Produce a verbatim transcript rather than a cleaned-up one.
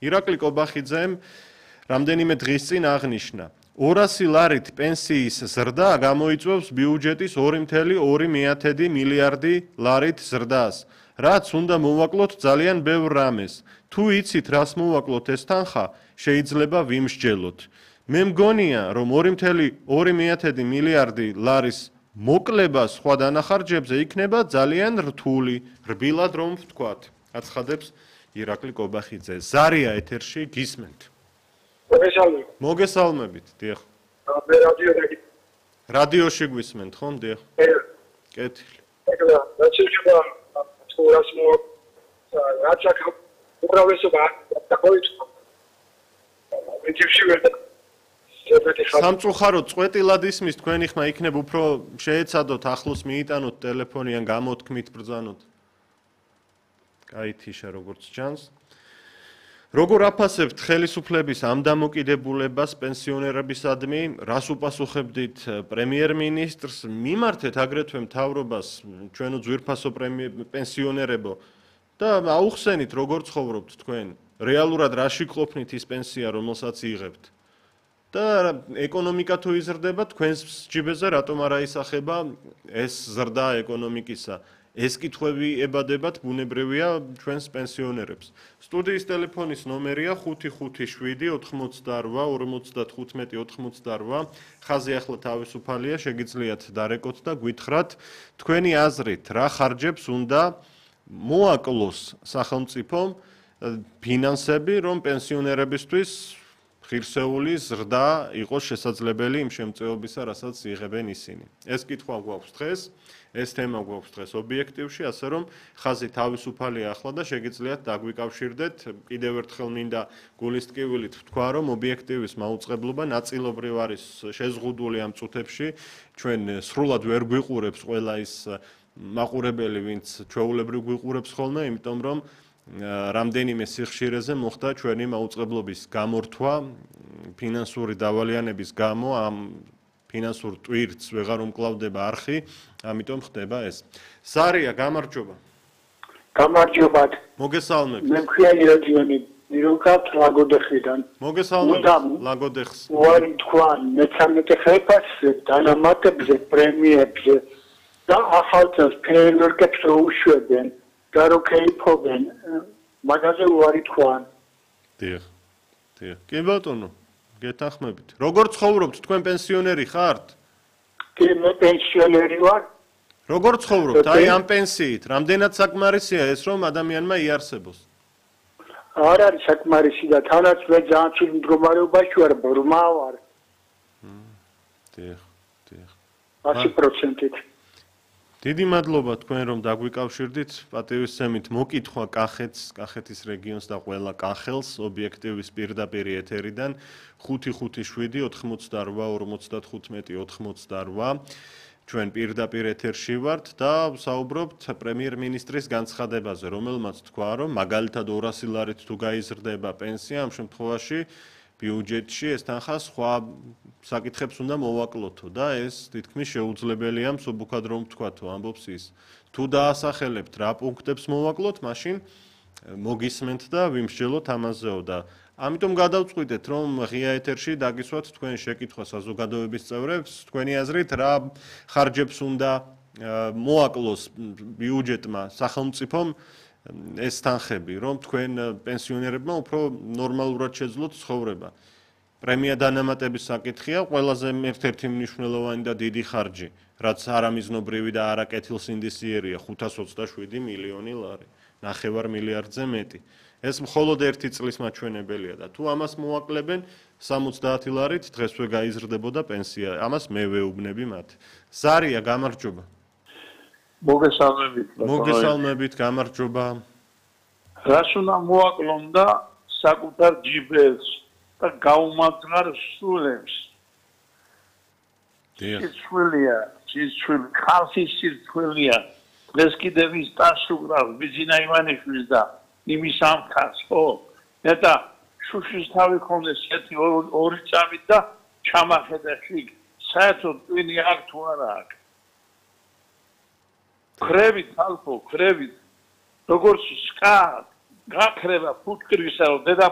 ირაკლი კობახიძემ რამდენიმე დღის წინ აღნიშნა. ორასი ლარით პენსიის ზრდა გამოიწვევს ბიუჯეტის ორი წუთი ორი მილიარდი ლარით ზრდას. რაც უნდა მოვაკლოთ ძალიან ბევრ რამეს. თუ იცით, რას მოვაკლოთ ეს თანხა, შეიძლება ვიმსჯელოთ. მე მგონია, რომ ორი წუთი ორი მილიარდი ლარის მოკლება სხვა დანახარჯებზე იქნება ძალიან რთული, რბილად რომ ვთქვათ. აცხადებს ირაკლი კობახიძე. ზარია ეთერში გისმენთ. მოგესალმებით. მოგესალმებით, დიახ. მე რადიოში. რადიოში გვისმენთ, ხომ, დიახ? კეთილი. ეკლა, რაჩება თურას მო რაცა უბრალესობა დაყოიწყო. ვიჩივში ვერ სამწუხაროდ წვეტილად ისმის თქვენი ხმა იქნებ უფრო შეეცადოთ ახლოს მიიტანოთ ტელეფონი ან გამოთქმით ბრძანოთ. კაი თიშა როგორც ჩანს. როგორ აფასებთ ხელისუფლების ამ დამოკიდებულებას პენსიონერებისადმი, რას უპასუხებდით პრემიერ-მინისტრს, მიმართეთ აგრეთვე მთავრობას, ჩვენო ძვირფასო პენსიონერებო და აუხსენით როგორ ცხოვრობთ თქვენ, რეალურად რაში გყოფნით ის პენსია, რომელსაც იღებთ. და ეკონომიკა თუ იზრდება, თქვენს ჯიბეზე რატომ არ აისახება ეს ზრდა ეკონომიკისა? ეს კითხვები ებადებათ ბუნებრივია ჩვენს პენსიონერებს. სტუდიის ტელეფონის ნომერია ხუთი ხუთი შვიდი ოთხმოცდაორვა ორმოცდათხუთმეტი ოცდაორვა. ხაზი ახლა თავისუფალია, შეგიძლიათ დარეკოთ და გვითხრათ თქვენი აზრით, რა ხარჯებს უნდა მოაკლოს სახელმწიფომ ფინანსები, რომ პენსიონერებისთვის ღირსეული ზრდა იყოს შესაძლებელი იმ შემწეობისა, რასაც იღებენ ისინი. ეს კითხვა გვაქვს დღეს, ეს თემა გვაქვს დღეს ობიექტივში, ასე რომ ხაზი თავისუფალია ახლა და შეგიძლიათ დაგვიკავშირდეთ. კიდევ ერთხელ მინდა გულის ტკივილით ვთქვა, რომ ობიექტივის მაუწყებლობა ნაწილობრივ არის შეზღუდული ამ წუთებში. ჩვენ სრულად ვერ გვიყურებს ყველა ის მაყურებელი, ვინც ჩვეულებრივ გვიყურებს ხოლმე, იმიტომ რომ რამდენიმე სიხშირეზე მოხდა ჩვენი მაუწყებლობის გამორთვა ფინანსური დავალიანების გამო ამ ფინანსურ ტვირთს ვეღარ უმკლავდება არხი, ამიტომ ხდება ეს. ზარია, გამარჯობა. გამარჯობა. მოგესალმებით. მე მქვია ირაკლი ნიროკათ ლაგოდეხიდან. მოგესალმებით ლაგოდეხს. უარი თქვა მეთორმეტე ხელფასზე, დანამატებზე, პრემიებზე და ახალწელს ფერმერებს უშვებენ. და რო ქეიფობენ, მაგაზე უარი თქვან. დიახ. დიახ. კი ბატონო, გეთანხმებით. როგორ ცხოვრობთ, თქვენ პენსიონერი ხართ? კი, მე პენსიონერი ვარ. როგორ ცხოვრობთ? აი ამ პენსიით, რამდენად საკმარისია ეს, რომ ადამიანმა იარსებოს? არ არის საკმარისი და თანაც მე ძალიან ცუდ მდგომარეობაში ვარ, ბრმა ვარ. დიახ, დიახ. ათი პროცენტით. დიდი მადლობა თქვენ რომ დაგვიკავშირდით. პატივისცემით მოკითხვა კახეთს, კახეთის რეგიონს და ყველა კახელს ობიექტივის პირდაპირ ეთერიდან ხუთი ხუთი შვიდი ოთხმოცდაორვა ორმოცდათხუთმეტი ოცდაორვა. ჩვენ პირდაპირ ეთერში ვართ და ვსაუბრობთ პრემიერ-მინისტრის განცხადებაზე, რომელმაც თქვა, რომ მაგალითად ორასი ლარით თუ გაიზრდება პენსია, ამ შემთხვევაში ბიუჯეტში ეს თანხა სხვა საკითხებს უნდა მოვაკლოთო და ეს თითქმის შეუძლებელია მსუბუქად რომ ვთქვათო, ამბობს ის. თუ დაასახელებთ რა პუნქტებს მოვაკლოთ, მაშინ მოგისმენთ და ვიმსჯელოთ ამაზეო და ამიტომ გადავწყვიტეთ, რომ ღია ეთერში დაგისვათ თქვენ შეკითხვა საზოგადოების წევრებს, თქვენი აზრით რა ხარჯებს უნდა მოაკლოს ბიუჯეტმა სახელმწიფომ ეს თანხები, რომ თქვენ პენსიონერებმა უფრო ნორმალურად შეძლოთ ცხოვრება. პრემია დანამატების საკითხია, ყველაზე ერთ-ერთი მნიშვნელოვანი და დიდი ხარჯი, რაც არამიზნობრივი და არაკეთილსინდისიერია, ხუთას ოცდაშვიდი მილიონი ლარი, ნახევარ მილიარდზე მეტი. ეს მხოლოდ ერთი წლის მაჩვენებელია და თუ ამას მოაკლებენ სამოცდაათი ლარით დღესვე გაიზრდებოდა პენსია. ამას მე ვეუბნები მათ. ზარია, გამარჯობა. მოგესალმებით. მოგესალმებით, გამარჯობა. რას უნდა მოაკლონ და საკუთარ ჯიბეს და გაუმაგრარ სულებს. სიცხვილია, სიცხვილი, ხალხის სიცხვილია. დღეს კიდევ ის დასუგრავს ბიძინა ივანიშვილს და იმის ამქარს, ხო? და შუშის თავი ხონდეს ერთი ორი წამით და ჩამახედა შიგ. საერთოდ ტვინი აქ თუ არა აქ. ხრევით ალფო, ხრევით. როგორც სკა გაქრება ფუტკრისა, რომ დედა